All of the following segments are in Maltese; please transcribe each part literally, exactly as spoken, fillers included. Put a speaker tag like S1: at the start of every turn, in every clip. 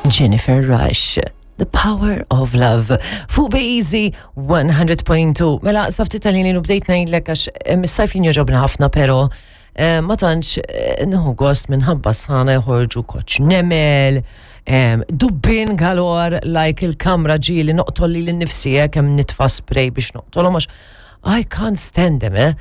S1: Jennifer Rush. The Power of Love. Fuq Easy one hundred point two. Mela, sa ftit tal-ħin u bdejt ngħidlek għax eh, mis-sajf jien jogħġobni ħafna, pero eh, ma tantx eh, nieħu gost minħabba sħana, joħorġu koċ nemel, em, dubbien galore, like il-kamra ġieli noqtol lili nnifsi kemm nitfa' spray biex noqtolhom għax I can't stand them, eh?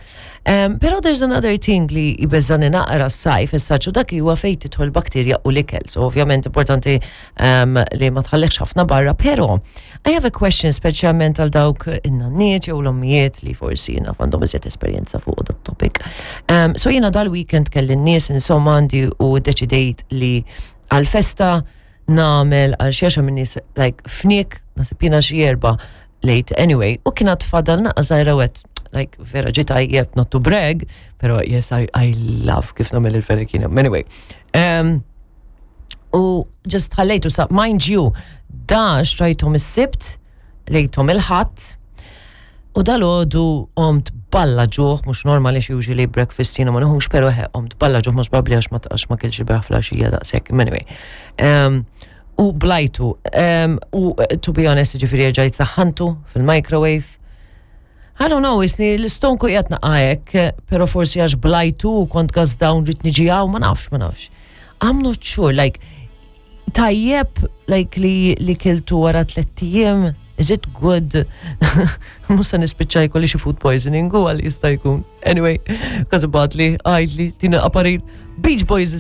S1: Um, pero there's another thing li jbeżżagħni naqra s-sajf, issa dak huwa fejn tidħol bakterja u l-ikel. So ovvjament importanti um, li ma tħallihx ħafna barra, pero I have a question, speċjalment għal dawk in-nanniet jew l-ommijiet li forsi jiena għandhom iżjed esperjenza fuq dat topic. Um, so jiena dal-weekend kelli n-nies insomma għandi u deċidejt li għal-festa nagħmel għal xi għaxar min-nies, like fniek, naħseb jiena xi erba' late anyway, u kienet fadal naqra żgħira wet, like vera ġie tajjeb, not to brag, pero yes, I, I love kif nagħmel il-fenek jiena. Anyway, um, u just ħallejtu sa, mind you, da xtrajthom is-Sibt, qlejthom il-Ħadd, u dalgħodu qomt balla ġuħ, mhux normali xi usually breakfast jiena ma nieħux, pero he, qomt balla ġuħ, mhux probabbli għax ma għax ma kiltx il-bieraħ filgħaxija daqshekk, anyway. Um, u blajtu, um, u to be honest, ġifieri ġajt saħħantu fil-microwave. I don't know, isni l-istonku qiegħed naqajek, pero forsi għax blajtu u kont gas down rrid niġi hawn, ma nafx, ma nafx. I'm not sure, like, tajjeb, like li, li kiltu wara tlett ijiem, is it good? Musa nispiċċa jkolli xi food poisoning u għal jista' jkun. Anyway, kważi batli, għajdli, tina aparil. Beach Boys.